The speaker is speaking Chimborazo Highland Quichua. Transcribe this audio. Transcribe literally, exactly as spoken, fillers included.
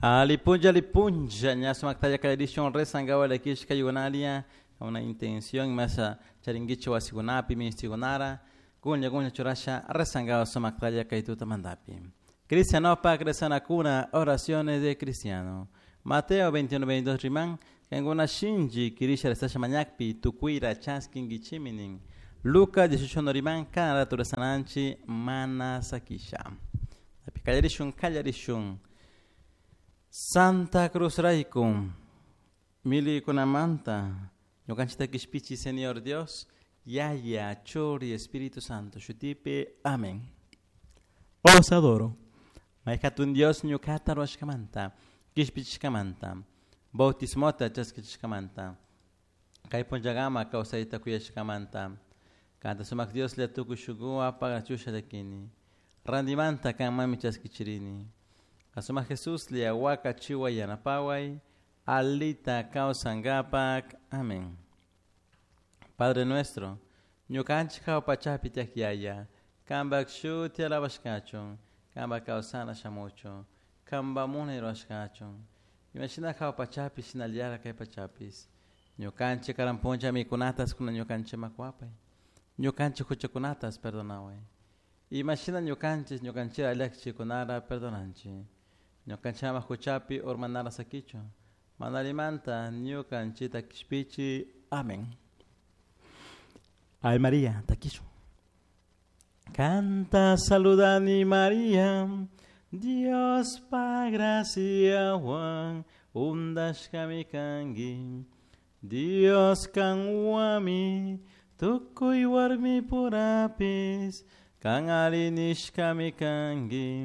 Alipunlla, alipunlla, ña sumaktalla kallarishun rezankapak lakishka yunalia una intención masa charinkichik wasikunapi ministikunara kunlla kunlla churasha rezankapak sumaktalla kay tutamantapi. Cristianopak rezanakuna oraciones de cristiano. Mateo veintiuno veintidós riman kankuna shinchi kirisha rezasha mañakpi tukuyra chaskinkichimi nin. Lucas dieciocho no riman kana rato rezananchi mana sakisha. Kallarishun, kallarishun. Santa Cruz rayku milikunamanta ñukanchikta kishpichi Señor Dios, Yaya, Churi, Espíritu Santo, shutipi, amén. Os adoro. Mayhatun Dios ñukata ruwashkamanta, kishpichishkamanta, bautismota chaskichishkamanta, kay punllakama kawsayta kuyashkamanta, kanta sumak Dios la tukuy shukuwa pagachusha llakini, randimanta kanmanmi chaskichirini. Asuma Jesús le aguaca chiwa yanapaway, alita kawsankapak. Amén. Padre nuestro, ñukanchik hawa pachapi tiyak yaya, kanpak shuti alabashkachun, kanpak kawsana shamuchun, kanpak munay rurashkachun, imashina hawa pachapi shinallara kay pachapis, ñukanchik karan punlla mikunatas kuna ñukanchik makuapay, ñukanchik huchakunatas perdonaway, imashina ñukanchik ñukanchik llakchikunara perdonanchik, ñukanchama huchapi urmanara sakichu, manalimanta ñukanchita kishpichi. Amén. Ay María, taquillo. Canta, saludani María, Dios pa gracia Juan, undashkami kangi, Dios kanwami, tukuy warmi purapis, kan ari nishkami kangi.